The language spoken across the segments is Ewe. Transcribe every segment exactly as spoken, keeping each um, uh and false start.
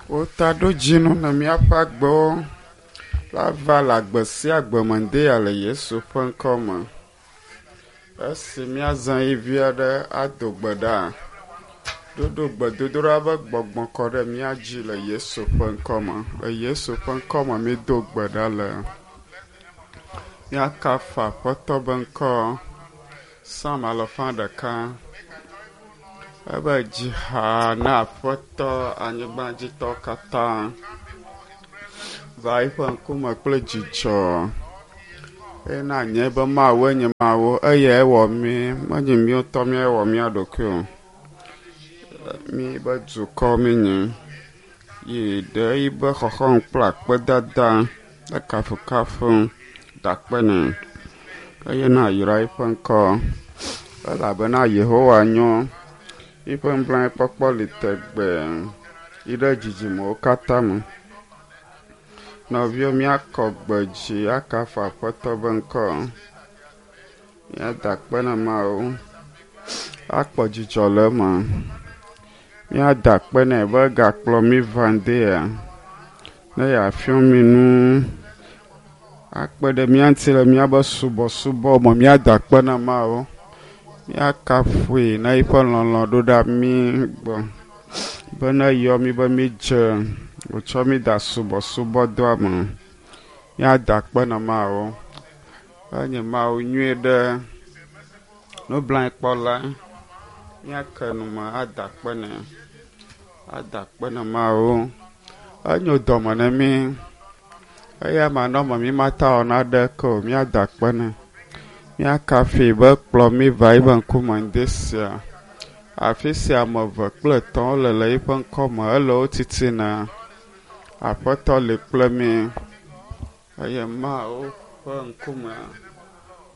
Wotaɖodzinu na míaƒe agbewo la va le agbe sia agbe me ŋdea le Yesu ƒe ŋkɔ me. Esi míazã ɣi vi aɖe ado gbe ɖa. Ɖoɖo gbedodoɖa be gbɔgbɔ kɔ ɖe mía dzi le Yesu ƒe ŋkɔ me. Le Yesu ƒe ŋkɔ me míedo gbe ɖa le. Míakafu Aƒetɔ be ŋkɔ. Psalm alafa ɖeka. Ebe dzi ha na Aƒetɔ anyigbadzitɔwo katã. Va eƒe ŋkume kple dzidzɔ. Eye na nye be Mawu enye Mawu eyae wɔ mí menye míawo ŋutɔ míewɔ mía ɖokui o. Mí be dukɔ míenye. Yi ɖe yibe xɔxɔm kple akpedada le kafukafu da akpe nɛ eye na yra eƒe ŋkɔ elabena Yehowa nyo. Yiƒe nublanuikpɔkpɔ li tegbee yi ɖe dzidzimewo katã me. Nɔviwo míakɔ gbe dzi akafu Aƒetɔ be ŋkɔ. Míada akpe na Mawu akpɔ dzidzɔ le eme. Míada akpe nɛ be egakplɔ mí va ŋdea ne yeafiɔ mí nu akpe ɖe mía ŋuti le míabe subɔsubɔ me. Míada akpe na Mawu. Míakafui na yiƒe lɔlɔ̃ ɖo ɖa mí gbɔ be ne eyɔ mí be mídze wòtsɔ mí da subɔsubɔdɔa me. Míada akpe na Mawu. Enye Mawu nyui ɖe nublanuikpɔla. Míake nu me ada akpe nɛ. Ada akpe na Mawu. Enyo dɔme na mí. Eya manɔme mí mate awɔ naɖeke o. Míada akpe nɛ. Míakafui be kplɔ mí va yiƒe ŋkume ŋdi sia. Afi sia ame eve kple etɔ̃ wole le yiƒe ŋkɔme ele wo titina. Aƒetɔ li kple mí eye Mawu ƒe ŋkume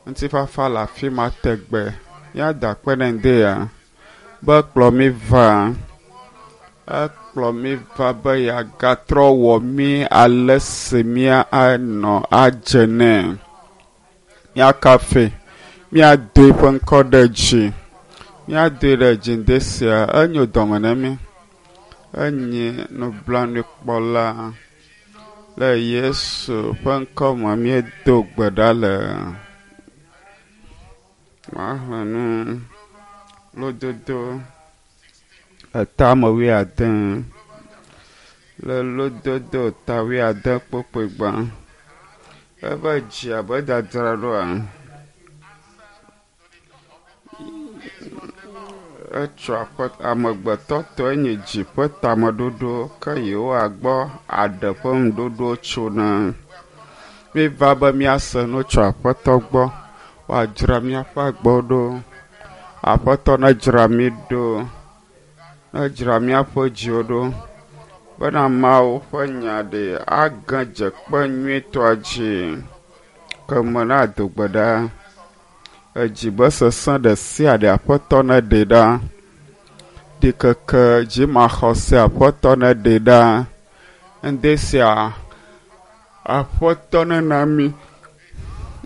ŋutifafa le afi ma tegbe. Míada akpe nɛ ŋdea be kplɔ mí va. Ekplɔ mí va be yeagatrɔ wɔ mí ale si míanɔ adze nɛ. Míakafui, míado eƒe ŋkɔ ɖe dzi. Míadoe ɖe dzi ŋdi sia. Enyo dɔme na mí. Enye nublanuikpɔla. Le Yesu ƒe ŋkɔ me míedo gbe ɖa le. Maxlẽ nu lododo etame wuiade. Le lododo ta wuiade kpukpui gbã. Ebe dzi abe dzadzraɖoa. Etso aƒe amegbetɔ tɔe nye dzi ƒe tameɖoɖo ke Yehowa gbɔ aɖe ƒe ŋuɖoɖo tsona. Míva be míase nu tso Aƒetɔ gbɔ. Woadzra míaƒe agbewo ɖo. Aƒetɔ nedzra mí ɖo. Nedzra míaƒe dziwo ɖo. Bena Mawu ƒe nya ɖe age dze kpe nyuitɔa dzi. Ke me na do gbe ɖa. Edzi be sesẽ ɖe sia ɖe Aƒetɔ neɖe ɖa. Ɖikeke dzimaxɔse Aƒetɔ neɖe ɖa. Ŋdi sia Aƒetɔ nena mí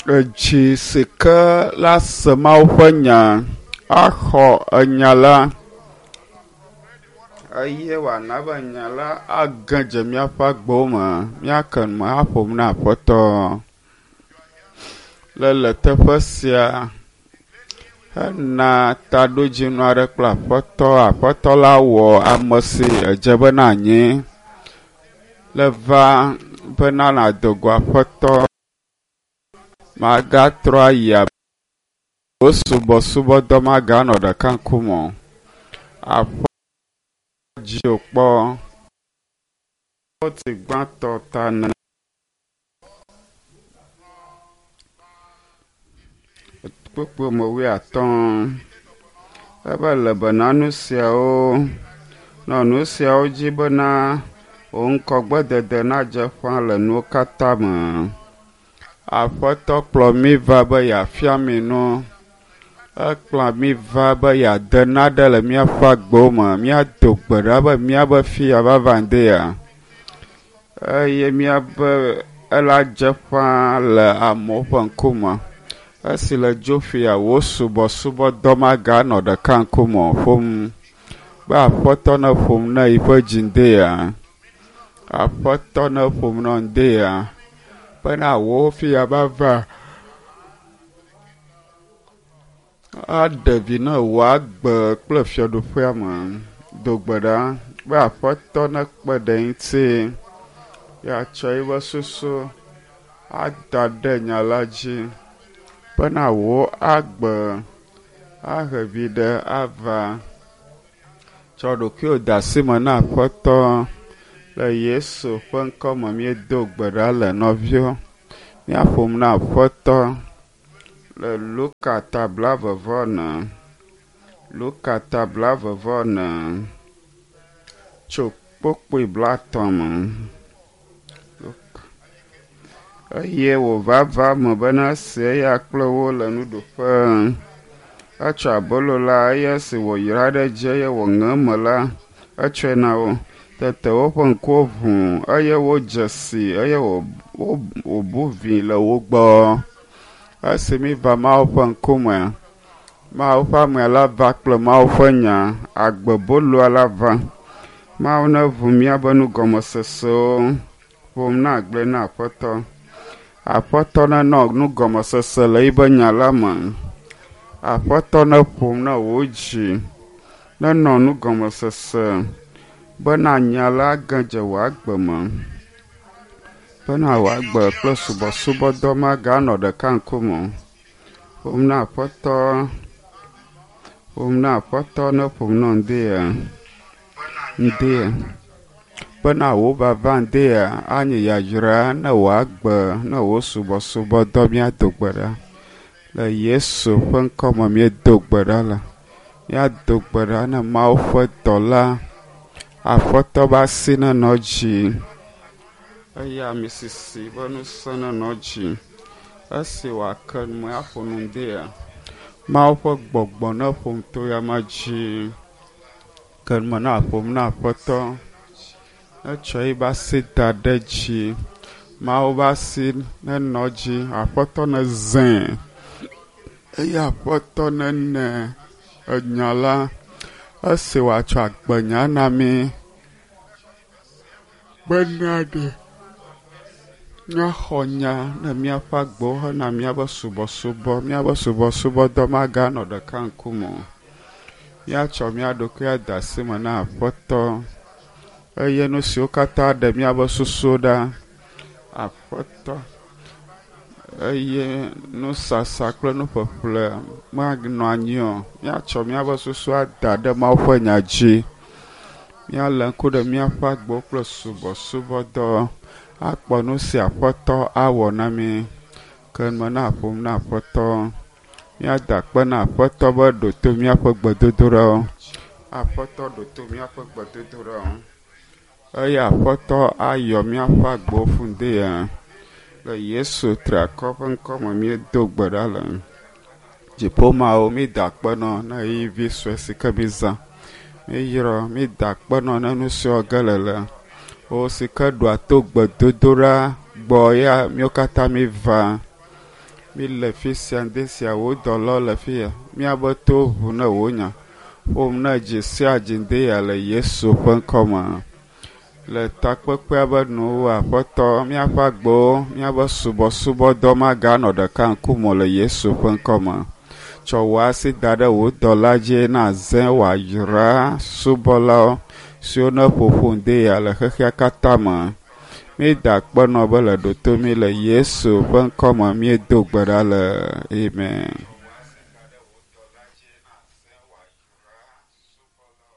edzi si ke la se Mawu ƒe nya axɔ enya la eye wòana be nya la age dze míaƒe agbewo me. Míake nu me aƒo nu na Aƒetɔ. Le le teƒe sia hena taɖodzinu aɖe kple Aƒetɔ. Aƒetɔ la wɔ ame si edze be nanyi. Le va bena nàdo go Aƒetɔ. Magatrɔ ayi abe wò subɔsubɔdɔ maganɔ ɖeka ŋkume o. Aƒe dziwò kpɔ. Ti gbãtɔ ta ne. Kpukpui me wuiatɔ̃. Ebe le bena nu siawo nɔ nu siawo dzi bena wò ŋkɔgbedede nadze ƒã le nuwo katã me. Aƒetɔ kplɔ mí va be yeafia mí nu. Ekplɔ mí va be yeade naɖe le míaƒe agbewo me. Míado gbe ɖa be míabe fia vava ŋdea eye míabe ela dze ƒã le amewo ƒe ŋkume. Esi le dzo fia wò subɔsubɔdɔ maganɔ ɖeka ŋkume o ƒom be Aƒetɔ neƒom na yiƒe dzi ŋdea. Aƒetɔ ne ƒom nɔ ŋde ya bena wò fia ba va aɖe vi na wò agbe kple fiaɖuƒea me. Do gbe ɖa be aƒetɔ nekpe ɖe ŋuti yeatsɔ eƒe susu ada ɖe nya la dzi bena wò agbe ahe viɖe ava. Tsɔ ɖokuiwò de asi me na aƒetɔ le Yesu ƒe ŋkɔ me míedo gbe ɖa le nɔviwo. Míaƒom na aƒetɔ le Luka ta blaeve vɔ ene. Luka ta blaeve vɔ ene tso kpukpui blaetɔ̃ me. Eye wòva va eme bena esi eya kple wo le nuɖuƒe, etsɔ abolo la eye esi wòyra ɖe edzi eye wòŋe eme la, etsɔe na wo. Tete woƒe ŋkuwo ʋu eye wodze sii eye wòbu vi le wo gbɔ. Esi míva Mawu ƒe ŋkume, Mawu ƒe amea la va kple Mawu ƒe nya, agbeboloa la va. Mawu neʋu míaƒe nugɔmesesewo, ƒom na agblɔe na Aƒetɔ. Aƒetɔ nenɔ nugɔmesese le yiƒe nya la me. Aƒetɔ neƒom na wò dzi, nenɔ nugɔmesese bena nya la ge dze wò agbe me. Bena wò agbe kple subɔsubɔdɔ maganɔ ɖeka ŋkume o. Ƒom na Aƒetɔ, ƒom na Aƒetɔ ne ƒom na ŋde ya, ŋde ya. Bena wò vava ŋde ya anye yayra ne wò agbe ne wò subɔsubɔdɔ míado gbe ɖa. Le Yesu ƒe ŋkɔ me míedo gbe ɖa le. Míado gbe ɖa ne Mawu ƒe dɔla Aƒetɔ be asi nenɔ dzi eye ame sisi ƒe ŋusẽ nenɔ dzi. Esi wòake nu aƒo nu ŋde ya, Mawu ƒe gbɔgbɔ neƒo nu to ya ma dzi. Ke nu me na ƒom na Aƒetɔ. Etsɔ yiƒe asi da ɖe dzi. Mawu ƒe asi nenɔ dzi. Aƒetɔ nezãe eye Aƒetɔ nene enya la. Esi wòatsɔ agbenya na mí bena ɖe míaxɔ nya ne míaƒe agbewo hena míaƒe subɔsubɔ. Míaƒe subɔsubɔdɔ maganɔ ɖeka ŋkume o. Míatsɔ mía ɖokui ade asi me na Aƒetɔ eye nu siwo katã ɖe míaƒe susu ɖa. Aƒetɔ eye nusasa kple nuƒeƒle manɔ anyi o. Míatsɔ míaƒe susu ada ɖe Mawu ƒe nya dzi. Míalé ŋku ɖe míaƒe agbewo kple subɔsubɔdɔ akpɔ nu si Aƒetɔ awɔ na mí. Ke nu me na ƒom na Aƒetɔ. Míada akpe na Aƒetɔ be ɖo to míaƒe gbedodoɖawo. Aƒetɔ ɖo to míaƒe gbedodoɖawo. Eye Aƒetɔ ayɔ míaƒe agbewo fũ ŋde ya. Le Yesu triakɔ ƒe ŋkɔ me míedo gbe ɖa le. Dziƒo Mawu, mída akpe nɔ ne ɣeyiɣi sue si ke mízã. Míeyrɔ, mída akpe nɔ ne nu siwo ge le le. Wo si ke ɖoa to gbedodoɖa gbɔ ya míwo katã míva. Míle fi sia ŋde sia wò dɔlawo le fi ya. Míaƒe to ʋu ne wò nya. Ƒom ne dzi sia dzi ŋde ya le Yesu ƒe ŋkɔ me. Le takpekpea be nuwo Aƒetɔ, míaƒe agbewo, míaƒe subɔsubɔdɔ maganɔ ɖeka ŋkume o le Yesu ƒe ŋkɔ me. Tsɔ wò asi da ɖe wò dɔla dzi na zẽ wòayra subɔlawo siwo ne ƒoƒu ŋde ya le xexea katã me. Míeda akpe nɔ be le ɖo to mí le Yesu ƒe ŋkɔ me míedo gbe ɖa le. Amen.